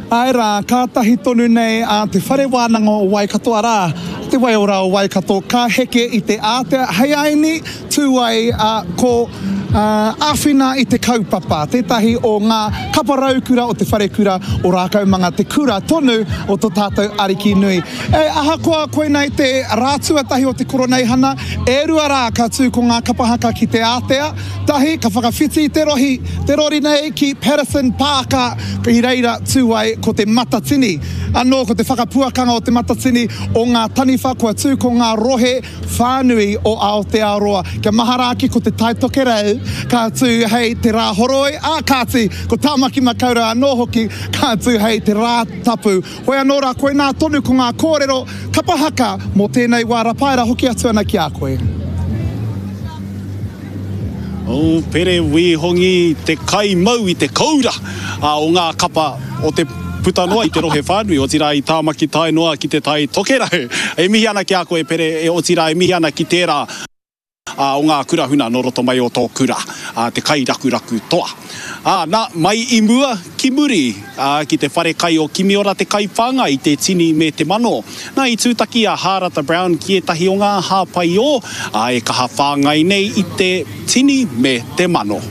Āe rā, kātahi tonu nei a Te Whare Wānanga o Waikato, arā, Te Waiora o Waikato, ka heke i te ātea hei aini tū ai ko Āwhina i te Kaupapa, tētahi o ngā kapa raukura o Te Wharekura o Rākaumanga, te kura tonu o tō tātou Ariki nui. E, ahakoa koinei te rā tuatahi o te Koroneihana, e rua rā ka tū ko ngā kapa haka ki te ātea, Tahi, ka whakawhiti i te rohi, te rori nei ki Patterson Pāka, i reira tū ai ko Te Matatini. Anō ko te whakapuakanga o Te Matatini o ngā taniwha kua tū ko ngā rohe whānui o Aotearoa. Kia mahara ake ko Te Tai Tokerau ka tū hei te Rāhoroi, ā kāti, ko Tāmaki Makaurau anō hoki ka tū hei te Rātapu. Hoi anō rā, koinā tonu ko ngā kōrero kapa haka mō tēnei wā Rapaera hoki atu ana ki a koe. O Pere Wīhongi te kaimau i te koura o ngā kapa o te puta noa i te rohe whānui, otirā i Tāmaki tae noa ki te Tai Tokerau. E mihi ana ki a koe Pere, otirā e mihi ana ki tērā o ngā kura huna nō roto mai o tō kura, te kairakuraku toa. Ā, nā, mai i mua ki muri, ā, ki te whare kai o Kimiora te kaiwhāngai i te tini me te mano. Nā, i tūtaki a Hārata Brown ki ētahi o ngā hāpaiō, ā, e kaha whāngai nei i te tini me te mano.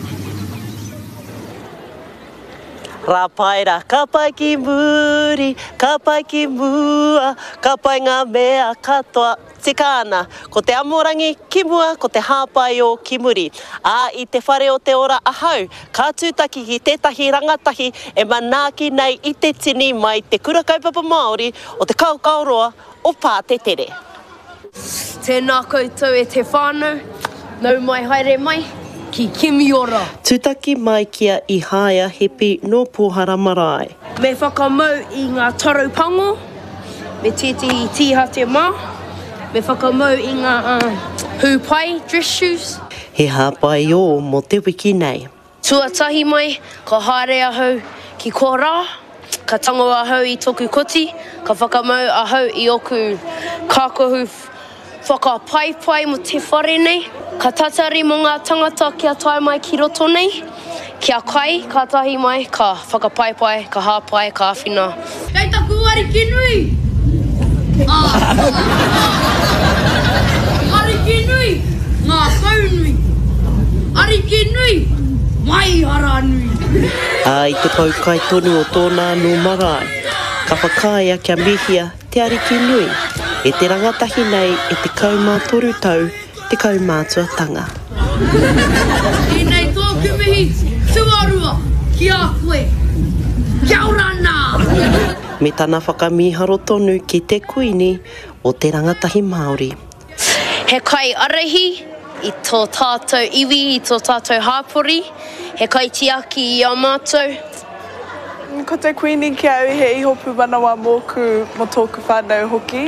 Rāpaera, ka pai ki muri, ka pai ki mua, ka pai ngā mea katoa. Tika ana, ko te amorangi ki mua, ko te hāpaiō ki muri. Ā, i te whare o te ora ahau, ka tūtaki ki tētahi rangatahi e manaaki nei i te tini mai Te Kura Kaupapa Māori o Te Kaokaoroa o Pātetere. Tēnā koutou e te whānau, nau mai haere mai ki Kimiora. Tūtaki mai ki a Ihaia Hepi nō Pōhara Marae. Me whakamau i ngā taro pango. Me tētehi tīhate mā. Me whakamau i ngā hū pai, dress shoes. He hāpaiō mō te wiki nei. Tuatahi mai, ka haere ahau ki korā, ka tango ahau i toku koti, ka whakamau ahau i oku kākahu Whakapaipai mo te whare nei. Ka tatari mo nga tangata kia tae mai ki roto nei, kia kai, katahi mai ka whakapaipai, ka hapai, ka awhina. Kei taku ariki nui! Ariki nui, ngākau nui. Ariki nui, maihara nui. Ā, i te poukai tonu o tōna anō marae, ka whakaaea kia mihia Te Ariki nui, e te rangatahi nei e 13 tau te kaumātuatanga. Tēnei tōku mihi tuarua ki a koe. Kia ora nā! Me tana whakamīharo tonu ki te Kuini o te rangatahi Māori. He kaiārahi i tō tātou iwi, i tō tātou hāpori, he kaitiaki i a mātou. Ko te Kuini ki a au he iho pūmanawa mōku, mō tōku whānau hoki.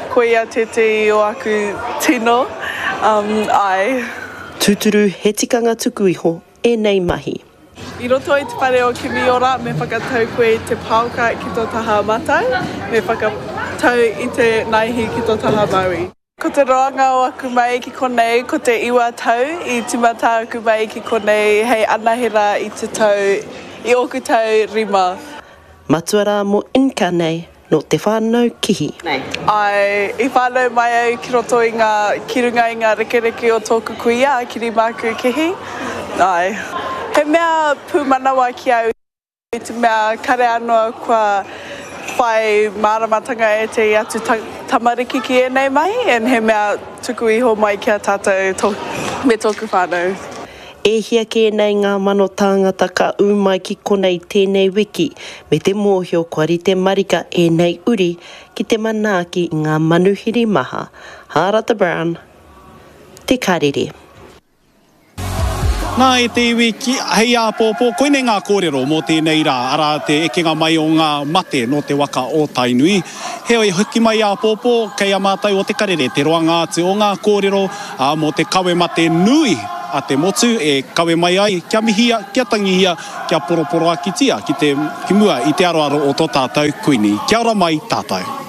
Ko ia tētehi o aku tino, āe. Tūturu he tikanga tuku iho ēnei mahi. I roto i te whare o Kimiora me whakatau koe i te paoka ki tō taha matau, me whakatau i te naihi ki tō taha maui. Ko te roanga o aku mahi ki konei ko te iwa tau, i timata aku mahi ki konei hei anahera i te tau, i ōku tau rima. Matua rā mō Inca nei Nō te whānau Kihi. Āe, i whānau mai au ki roto i ngā, ki runga i ngā rekereke o tōku kuia, a Kirimāku Kihi. Āe. He mea pūmanawa ki au i te mea kare anō kua whai māramatanga ētehi atu tamariki ki ēnei mahi and he mea tuku iho mai ki a tātou tō, me tōku whānau. E hia kē nei ngā mano tāngata ka ū mai ki konei tēnei wiki, me te mōhio kua rite marika ēnei uri ki te manaaki i ngā manuhiri maha. Hārata Brown, Te Karere. Nā e te iwi ki, hei āpōpō, koinei ngā kōrero mō tēnei rā, arā te ekenga mai o ngā mate nō te waka o Tainui. Heoi, hoki mai āpōpō, kei a mātou o Te Karere te roanga atu o ngā kōrero, ā, mō te kawe mate nui a te motu e kawe mai ai kia mihia, kia tangihia, kia poroporoakitia ki te, ki mua i te aroaro o tō tātou Kuini. Kia ora mai tātou.